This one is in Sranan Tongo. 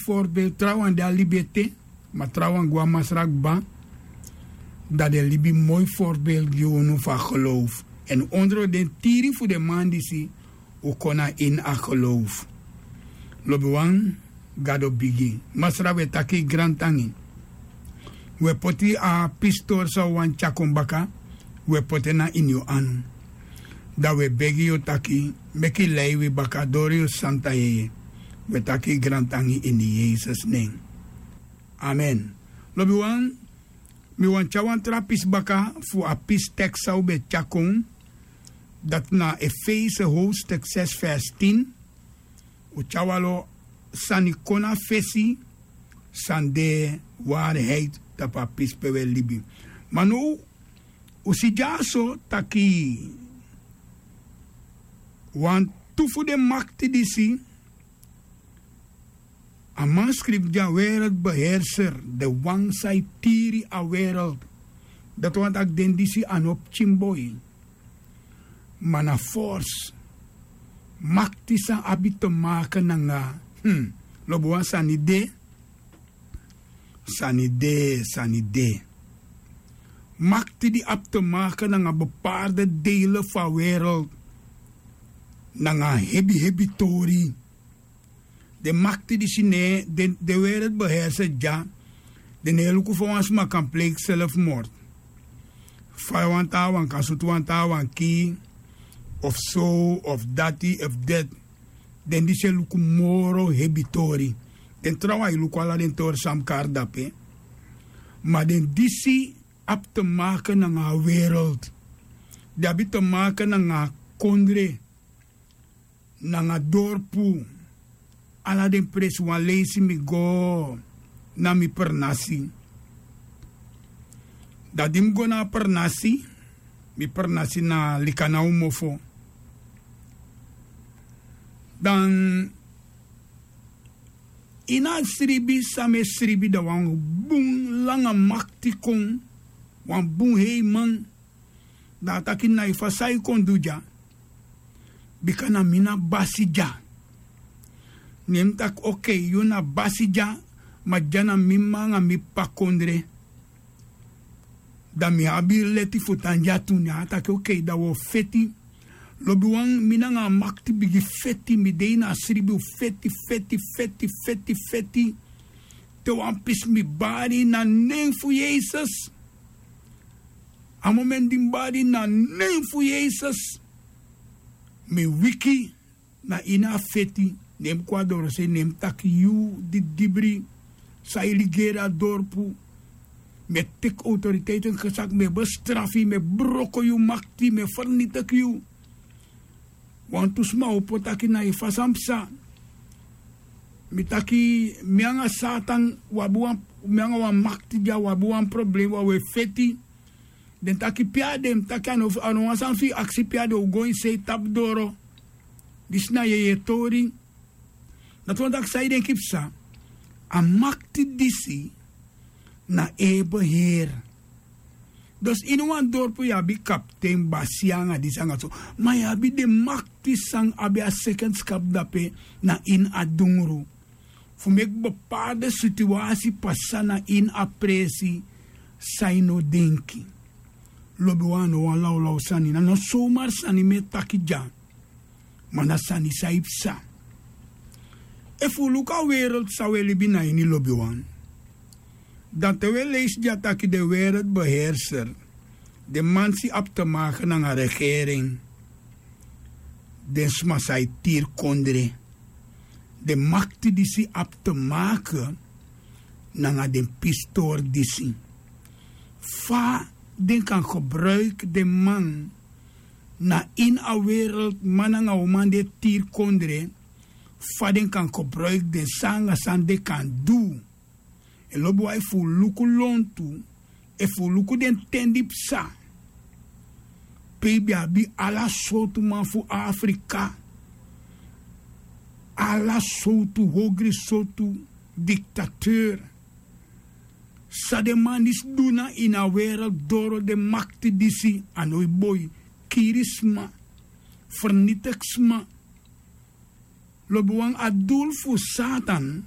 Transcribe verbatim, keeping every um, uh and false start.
Forbel trawan de a libi ete, ma trawan go a masra kba. Dan den libi moi forbel gi unu fu a gelowfu. Èn ondro den tiri fu den man disi un kon na ini a gelowfu. Lobiwan, gado bigi. Masra, wi e taki grantangi. Wi e poti a pistori san wi wani tyakon baka. Wi e poti en na ini yu anu. Dan wi e begi yu taki meki yu lei wi baka dori yu santa yeye. Wi e taki grantangi ini yesus nen. Amen. Lobiwan, mi wani tyari wan tra pisi baka fu a pisi teks san wi ben tyari kon. Dati na efese howstek sesi fesi tin. Un tyari wan lo sani kon na fesi. San de wariheit tapu a pisi pe wi e libi. Ma now un si dyaso taki wantu fu den makti disi, a man skrifi gi a wereld beherser, den wan san e tiri a wereld. Dati wani taki den disi a no pikin boi, ma na forsi. Makti san abi te make nanga, hmm, lobi wan sani de. Sani de, sani de. Makti di abi te make nanga bepaarde dele fu a wereld, nanga hebi hebi tori. Den makti disi ne den, den weri eti behersi dya. Den no e luku fa wan sma kan pleiki selfmort, fa wan taawan kan sutu wan taawan kii, of so of dati of deti. Den disi e luku moro hebi tori. Den trawan e luku ala den tori san mus kari dape. Ma den disi abi te make nanga a wereld. Den abi te make nanga a kondre, nanga dorpu. Ala den presi wan leisi mi go na mi pernasi. Dan di mi go na a pernasi, mi pernasi na lika na un mofo. Dan ini a sribi san mi e sribi, dan wan bun langa makti kon. Wan bun heiman. Dan a taki na yu fa san yu kon du dya? Bika na mi na basi dya. Ne mi taki okei, yu na basi dya, ma dya na mi m'ma nanga mi p'pa kondre. Dan mi abi leti fu tan dya tu. Ne a taki okei, dan wi o feti. Lobiwan, mi nanga a makti bigin feti. Mi de ini a sribi, un feti, feti, feti, feti, feti. Te wan pisi mi bari na nen fu yesus. A momenti di mi bari na nen fu yesus, mi wiki na ini a feti. Ne mi kon a dorosei, ne mi taki yu didibri san e ligeri a dorpu, mi e teki outoriteiten gesaki, mi e bestrafu yu, mi e broko yu makti, mi e fernitiki yu. Wantu sma opo taki na yu fa san psa. Mi taki mi anga satan, wi abi wan, mi anga wan makti dya, wi abi wan problem, wi a wi e feti. Den taki pe a de? Mi taki a no wan sani fu yu aksi pe a de, un go ini sei tapu doro. Disi na yeye tori. Dati wani taki san yu denki psa? A makti disi na en e beheer. Dus ini wan dorpu yu abi kapten, basi anga disi anga so. Ma yu abi den makti san abi a sekenskap dape na ini a dungru, fu meki bepaarde situasi pasa na ini a presi san yu no denki. Lobiwan, a no wan lawlaw sani, na no somar sani mi e taki dya. Ma na sani san e psa. Efu un luku a wereld san un e libi na ini, lobiwan, dan te un e leisi dya taki den wereld beherser, den man disi abi te make nanga regering, den sma san e tiri kondre, den makti disi abi te make nanga den pistori disi. Fa den kan gebruiki den man na ini a wereld, man nanga uman di e tiri kondre, fa den kan gebruiki den san anga san den kan du. En lobiwan, efu un luku lontu, efu un luku den ten di psa, pe yu ben abi ala sowtu man fu Afrika, ala sowtu hogri sowtu diktateur. San den man disi du na ini a wereld doro, den makti disi, a no e boi. Kiri sma, fernitiki sma. Lobiwan, a dul fu Satan